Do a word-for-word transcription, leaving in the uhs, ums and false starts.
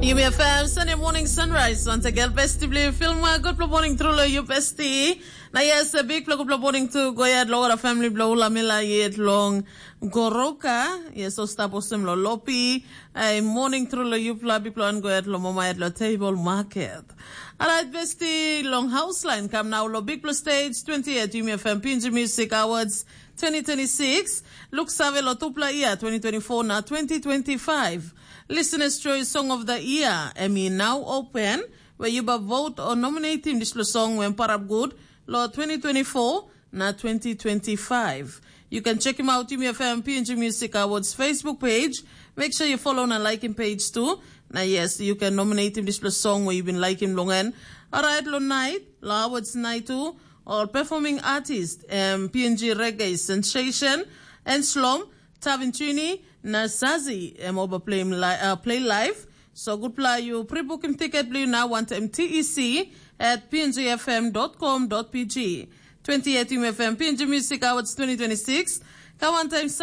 Yumi F M, Sunday morning sunrise. Once again, besti bli film. Good morning, true love, you besti. Na yes, a big plug, good morning to Goyad, Logora family, blo Ulamila, yet long Goroka. Yes, so stop osem lo Lopi. A morning, true love, you pla, big plan, Goyad, lo Mama, at lo table market. Alright, besti, long house line, come now, lo big plus stage, twenty-eight, Yumi F M, Pinji Music Awards, twenty twenty-six. Look, save lo tupla year, twenty twenty-four, na twenty twenty-five. Listeners' Choice Song of the Year, em i nau open, where you ba vote o nominatim dispela song wen parap gut lo twenty twenty-four na twenty twenty-five. You can check him out Yumi F M P N G Music Awards Facebook page. Make sure you follow na like him page too. Na yes, you can nominate him dispela song where you been like him long end. Alright, lo night, lo awards night too. All performing artist, um, P N G Reggae Sensation, and Slom, Tavinchini, na Sazi, em oba play, li uh, play live. So good pla you pre-book him ticket blue now one time T E C at P N G F M dot com dot P G. twenty eighteen F M P N G Music Awards twenty twenty-six. Ka one time